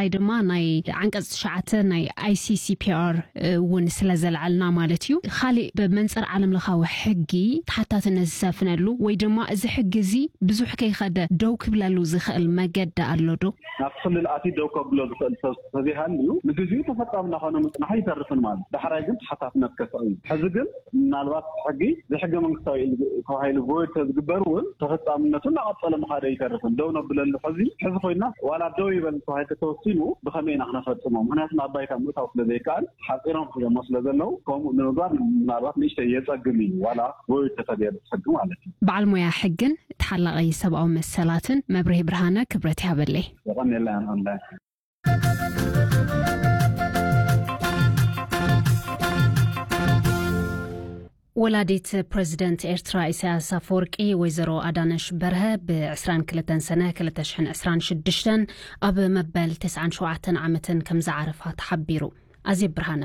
ብፍላይ ድማ ናይ ዓንቀጽ ትሽዓተ ናይ I C C P R እውን ስለ ዘልዓልና ማለት እዩ። ካሊእ ብመንጽር ዓለም ለኻዊ ሕጊ ተሓታትነት ዝሰፍነሉ ወይ ድማ እዚ ሕጊ እዚ ብዙሕ ከይኸደ ደው ክብለሉ ዝኽእል መገዲ ኣሎ ዶ? ናብ ክልል ኣትዩ ደው ከብሎ ዝኽእል ሰብ ተዘይሃልዩ ንግዜኡ ተፈጻሚ እናኾነ ምጽናሑ ይተርፍን ማለት ዳሕራይ ግን ተሓታትነት ከስዕብ እዩ። ሕዚ ግን ምናልባት ሕጊ ዘይሕገ መንግስታዊ ኢሉ ተባሂሉ ቮይድ ተዝግበር እውን ተፈጻምነቱ እናቐጸለ ምኻደ ይተርፍን ደው ነብለሉ። ሕዚ ሕዚ ኮይና ዋላ ደው ይበል ተባሂል ተተወሲኑ ብኸመይ ኢና ክነፈጽሞ? ምክንያቱ ናብ ባይታ ምእታው ስለ ዘይከኣል ሓጺሮም ክጀሞ ስለ ዘለዉ ከምኡ ንምግባር ምናልባት ንእሽተይ የጸግም እዩ ዋላ ቮይድ ተተገይሩ ሕጊ ማለት እዩ። በዓል ሞያ ሕግን ተሓላቒ ሰብኣዊ መሰላትን መብርሂ ብርሃነ ክብረት ይሃበለይ። የቐንየልና። ወላዲት ፕረዚደንት ኤርትራ ኢሳያስ ኣፈወርቂ ወይዘሮ ኣዳነሽ በርሀ ብ ዕስራን ክልተን ሰነ ክልተ ሽሕን ዕስራን ሽዱሽተን ኣብ መበል ተስዓን ሸውዓተን ዓመተን ከም ዝዓረፋ ተሓቢሩ። ኣዜብ ብርሃነ።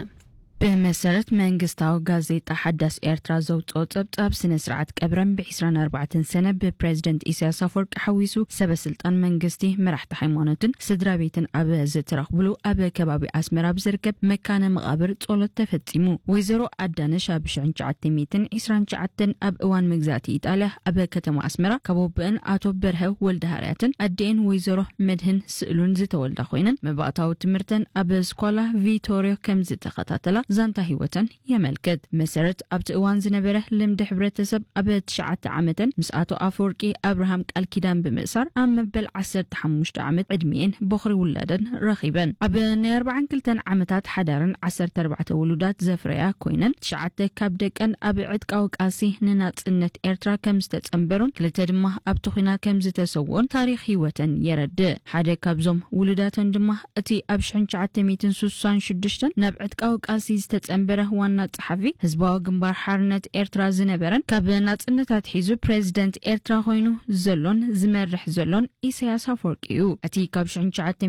ብመሰረት መንግስታዊ ጋዜጣ ሓዳስ ኤርትራ ዘውፅኦ ጸብጻብ፣ ስነ ስርዓት ቀብረን ብ ዕስራን ኣርባዕተን ሰነ ብፕረዚደንት ኢሳያስ ኣፈወርቂ ሓዊሱ ሰበ ስልጣን መንግስቲ፣ መራሕቲ ሃይማኖትን ስድራ ቤትን ኣብ ዝተረኽብሉ ኣብ ከባቢ ኣስመራ ኣብ ዝርከብ መካነ መቓብር ጸሎት ተፈጺሙ። ወይዘሮ ኣዳነሽ ኣብ ሽሕን ትሽዓተ ሚእትን ዕስራን ትሽዓተን ኣብ እዋን መግዛእቲ ኢጣልያ ኣብ ከተማ ኣስመራ ካብ ኣቦአን ኣቶ በርሀ ወልደሃርያትን ኣዴአን ወይዘሮ መድህን ስእሉን ዝተወልዳ ኮይነን፣ መባእታዊ ትምህርተን ኣብ ስኳላ ቪቶርዮ ከም ዝተኸታተላ ዛንታ ህይወተን የመልክት። መሰረት ኣብቲ እዋን ዝነበረ ልምዲ ሕብረተሰብ፣ ኣብ ትሽዓተ ዓመተን ምስ ኣቶ ኣፈወርቂ ኣብርሃም ቃል ኪዳን ብምእሳር ኣብ መበል ዓሰርተ ሓሙሽተ ዓመት ዕድሚኤን ቦኽሪ ውላደን ረኺበን። ኣብ ናይ ኣርባዓን ክልተን ዓመታት ሓዳረን ዓሰርተ ኣርባዕተ ውሉዳት ዘፍረያ ኮይነን፣ ትሽዓተ ካብ ደቀን ኣብ ዕጥቃዊ ቃልሲ ንናጽነት ኤርትራ ከም ዝተጸንበሩን ክልተ ድማ ኣብቲ ኲናት ከም ዝተሰውኦን ታሪኽ ህይወተን የረድእ። ሓደ ካብዞም ውሉዳተን ድማ እቲ ኣብ ሽሕን ትሽዓተ ሚእትን ስሳን ሽዱሽተን ናብ ዕጥቃዊ ቃልሲ ዝተጸንበረ ዋና ጸሓፊ ህዝባዊ ግንባር ሓርነት ኤርትራ ዝነበረን ካብ ናጽነት ኣትሒዙ ፕረዚደንት ኤርትራ ኮይኑ ዘሎን ዝመርሕ ዘሎን ኢሳያስ ኣፈወርቂ እዩ። እቲ ካብ ሽሕን ትሽዓተ